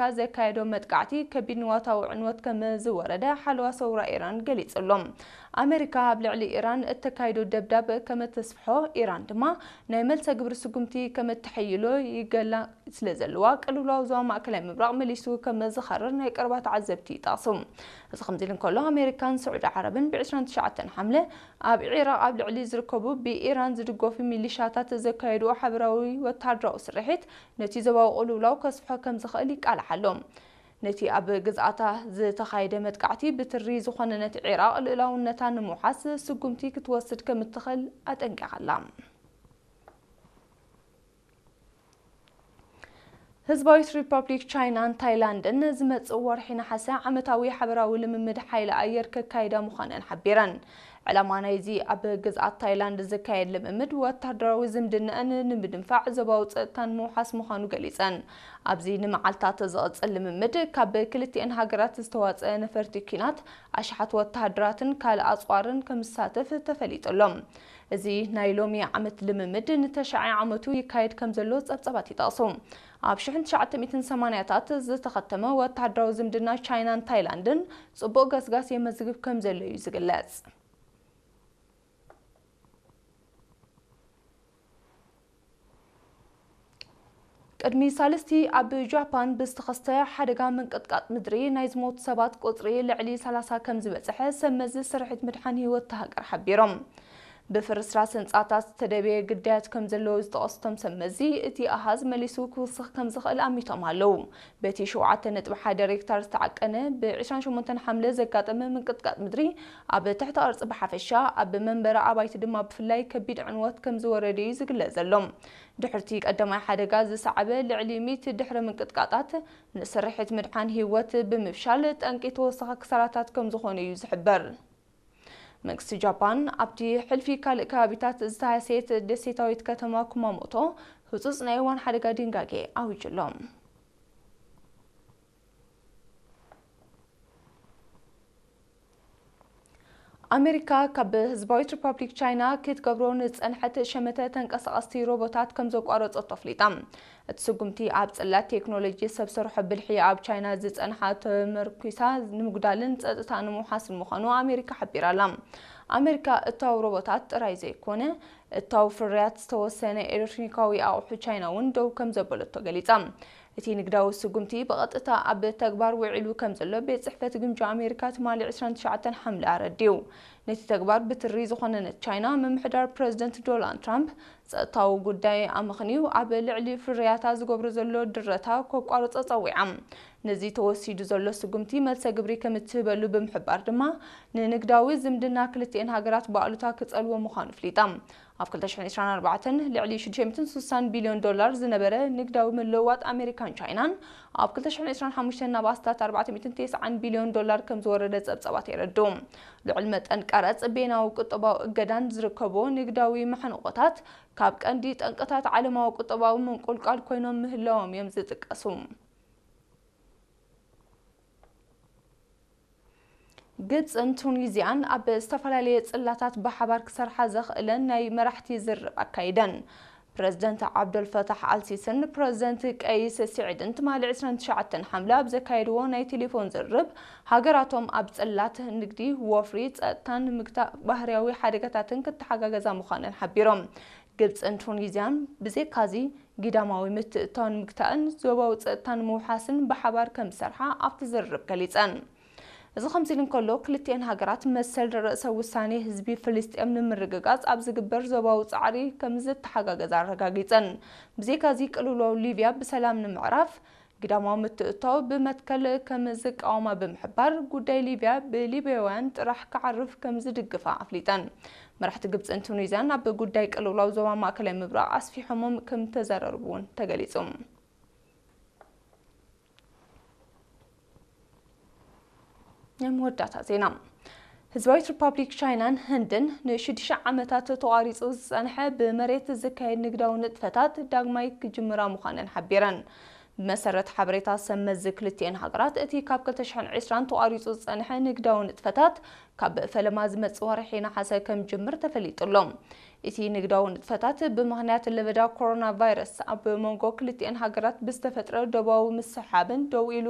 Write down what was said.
ኣሜሪካ ዘካየዶ መጥቃዕቲ ከቢድ ንዋታዊ ዕንወት ከም ዝወረደ ሓለዋ ሰውራ ኢራን ገሊጹ ኣሎ። ኣሜሪካ ኣብ ልዕሊ ኢራን እተካይዶ ደብዳብ ከም እተስፍሖ፣ ኢራን ድማ ናይ መልሰ ግብሪ ስጉምቲ ከም እተሐይሎ ይገላ ስለ ዘለዋ፣ ቅልውላው ዞባ ማእከላይ ምብራቕ መሊሱ ከም ዝኸርር ናይ ቀረባ ተዓዘብቲ ይጠቕሱ። እዚ ከምዚ ኢሉ እንከሎ፣ ኣሜሪካን ስዑዲ ዓረብን ብ ዕስራን ትሽዓተን ሓምለ ኣብ ዒራቕ ኣብ ልዕሊ ዝርከቡ ብኢራን ዝድገፉ ሚሊሻታት ዘካየድዎ ሓበራዊ ወተሃደራዊ ስርሒት ነቲ ዞባዊ ቅልውላው ከስፍሖ ከም ዝኽእል ይቃልሕ ኣሎ። ነቲ ኣብ ግዝኣታ ዝተኻየደ መጥቃዕቲ ብትሪ ዝኾነነት ዒራቕ ልኡላውነታ ንምውሓስ ስጉምቲ ክትወስድ ከም እትኽእል ኣጠንቂቓ ኣላ። ህዝባዊት ሪፐብሊክ ቻይናን ታይላንድን ዝመጽእ ወርሒ ነሓሰ ዓመታዊ ሓበራዊ ልምምድ ሓይሊ ኣየር ከካይዳ ምዃነን ሓቢረን። ዕላማ ናይዚ ኣብ ግዝኣት ታይላንድ ዝካየድ ልምምድ ወታደራዊ ዝምድናኣን ንምድንፋዕ ዞባዊ ጸጥታን ምውሓስ ምዃኑ ገሊጸን። ኣብዚ ንመዓልታት ዝቕጽል ልምምድ ካብ ክልቲኤን ሃገራት ዝተዋጸ ነፈርቲ ኲናት፣ ኣሽሓት ወተሃደራትን ካልእ ኣጽዋርን ከም ዝሳተፍ ተፈሊጡ ኣሎ። እዚ ናይ ሎሚ ዓመት ልምምድ ንተሽዓይ ዓመቱ ይካየድ ከም ዘሎ ጸብጻባት ይጠቕሱ። ኣብ ሽሕን ትሽዓተ ሚእትን ሰማንያታት ዝተኸተመ ወተሃደራዊ ዝምድና ቻይናን ታይላንድን ጽቡቕ ገስጋስ የመዝግብ ከም ዘሎ እዩ ዝግለጽ። ቅድሚ ሳልስቲ ኣብ ጃፓን ብዝተኸስተ ሓደጋ ምንቅጥቃጥ ምድሪ ናይ ዝሞቱ ሰባት ቁጽሪ ልዕሊ ሰላሳ ከም ዝበጽሐ ሰብ መዚ ስርሒት ምድሓን ህይወት እታ ሃገር ሓቢሮም። ብፍርስራስ ህንጻታት ዝተደብየ ግዳያት ከም ዘለዉ ዝጠቐሱ እቶም ሰብ መዚ፣ እቲ ኣሃዝ መሊሱ ክውስኽ ከም ዝኽእል ኣሚቶም ኣለዉ። በቲ ሸውዓተ ነጥቢ ሓደ ሬክታር ዝተዓቀነ ብ ዕስራን ሸሞንተን ሓምለ ዘጋጠመ ምንቅጥቃጥ ምድሪ ኣብ ትሕቲ ቅርጺ ብሓፈሻ፣ ኣብ መንበሪ ኣባይቲ ድማ ብፍላይ ከቢድ ዕንወት ከም ዝወረደ እዩ ዝግለጽ ዘሎ። ድሕርቲ ቀዳማይ ሓደጋ ዝሰዓበ ልዕሊ ሚእቲ ድሕረ ምንቅጥቃጣት ንስርሒት ምድሓን ህይወት ብምፍሻል ጠንቂ ተወሳኺ ክሳራታት ከም ዝኾነ እዩ ዝሕበር። መንግስቲ ጃፓን ኣብቲ ሕልፊ ካልእ ከባቢታት ዝተሃሰየት ደሴታዊት ከተማ ኩማሞቶ ህጹጽ ናይ እዋን ሓደጋ ድንጋጌ ኣዊጁ ኣሎ። ኣሜሪካ ካብ ህዝባዊት ሪፓብሊክ ቻይና ክትገብሮ ንዝጸንሐት ሸመተ ተንቀሳቐስቲ ሮቦታት ከም ዘቋረጸቶ ኣፍሊጣ። እቲ ስጉምቲ ኣብ ጽላት ቴክኖሎጂ ሰብ ሰርሖ ብልሒ ኣብ ቻይና ዝጸንሓ ተመርኲሳ ንምጉዳልን ጸጥታ ንምውሓስን ምዃኑ ኣሜሪካ ሓቢራ ኣላ። ኣሜሪካ እታው ሮቦታት ጥራይ ዘይኮነ፣ እታው ፍርያት ዝተወሰነ ኤሌክትሮኒካዊ ኣቑሑ ቻይና እውን ደው ከም ዘበለቶ ገሊጻ። እቲ ንግዳዊ ስጉምቲ ብቐጥታ ኣብ ተግባር ውዒሉ ከም ዘሎ ቤት ጽሕፈት ግምጃ ኣሜሪካ ትማሊ ዕስራን ትሽዓተን ሓምለ ኣረዲኡ። ነቲ ተግባር ብትሪ ዝኾነነት ቻይና፣ ምምሕዳር ፕረዚደንት ዶናልድ ትራምፕ ጸጥታዊ ጉዳይ ኣመኽንዩ ኣብ ልዕሊ ፍርያታ ዝገብሮ ዘሎ ድረታ ከቋርጾ ጸዊዓ። ነዚ ተወሲዱ ዘሎ ስጉምቲ መልሰ ግብሪ ከም እትህበሉ ብምሕባር ድማ፣ ንንግዳዊ ዝምድና ክልቲኤን ሃገራት ብኣሉታ ክጸልዎ ምዃኑ ኣፍሊጣ። ኣብ ክልተ ሽሕን ዕስራን ኣርባዕተን ልዕሊ ሽዱሽተ ሚእትን ስሳን ቢልዮን ዶላር ዝነበረ ንግዳዊ ምልውዋጥ ኣሜሪካን ቻይናን፣ ኣብ ክልተ ሽሕን ዕስራን ሓሙሽተን ናብ ኣስታት ኣርባዕተ ሚእትን ተስዓን ቢልዮን ዶላር ከም ዝወረደ ጸብጻባት የረድኡ። ልዑል መጠን ቀረጽ፣ ቤናዊ ቁጠባዊ እገዳን ዝርከብዎ ንግዳዊ መሕንቆታት፣ ካብ ቀንዲ ጠንቅታት ዓለማዊ ቁጠባዊ ምንቁልቋል ኮይኖም ምህላዎም እዮም ዝጥቀሱ። ግብጽን ቱኒዝያን ኣብ ዝተፈላለየ ጽላታት ብሓባር ክሰርሓ ዘኽእለን ናይ መራሕቲ ዝርርብ ኣካይደን። ፕረዚደንት ዓብደልፈታሕ ኣልሲስን ፕረዚደንት ቀይስ ስዒድን ትማሊ ዕስራን ትሽዓተን ሓምለ ኣብ ዘካየድዎ ናይ ቴሌፎን ዝርርብ፣ ሃገራቶም ኣብ ጽላት ንግዲ፣ ወፍሪ፣ ጸጥታን ምግታእ ባህርያዊ ሓደጋታትን ክተሓጋገዛ ምዃነን ሓቢሮም። ግብጽን ቱኒዝያን ብዘይካዚ፣ ግዳማዊ ምትእትታው ንምግታእን ዞባዊ ጸጥታ ንምውሓስን ብሓባር ከም ዝሰርሓ ኣብቲ ዝርርብ ገሊጸን። እዚ ከምዚ ኢሉ እንከሎ፣ ክልቲኤን ሃገራት መሰል ርእሰ ውሳኔ ህዝቢ ፍልስጤም ንምርግጋጽ ኣብ ዝግበር ዞባዊ ጻዕሪ ከም ዝተሓጋገዛ ኣረጋጊጸን። ብዘይካዚ፣ ቅልውላው ሊብያ ብሰላም ንምዕራፍ ግዳማዊ ምትእትታው ብመትከል ከም ዝቃወማ ብምሕባር፣ ጉዳይ ሊብያ ብሊብያውያን ጥራሕ ክዓርፍ ከም ዝድግፋ ኣፍሊጠን። መራሕቲ ግብጽን ቱኒዝያን ኣብ ጉዳይ ቅልውላው ዞባ ማእከላይ ምብራቕ ኣስፊሖም ከም ዝተዘራረቡ እውን ተገሊጹ። ናይ መወዳእታ ዜና። ህዝባዊት ሪፓብሊክ ቻይናን ህንድን ንሽዱሽተ ዓመታት ተቋሪጹ ዝጸንሐ ብመሬት ዝካየድ ንግዳዊ ንጥፈታት ዳግማይ ክጅምራ ምዃነን ሓቢረን። ብመሰረት ሓበሬታ ሰብ መዚ ክልቲኤን ሃገራት፣ እቲ ካብ ክልተ ሽሕን ዕስራን ተቋሪጹ ዝጸንሐ ንግዳዊ ንጥፈታት ካብ ፈለማ ዝመጽእ ወርሒ ነሓሰ ከም ጅምር ተፈሊጡ ኣሎ። እቲ ንግዳዊ ንጥፈታት ብምኽንያት ለበዳ ኮሮና ቫይረስ ኣብ መንጎ ክልቲኣን ሃገራት ብዝተፈጥረ ዶባዊ ምስሕሓብን ደው ኢሉ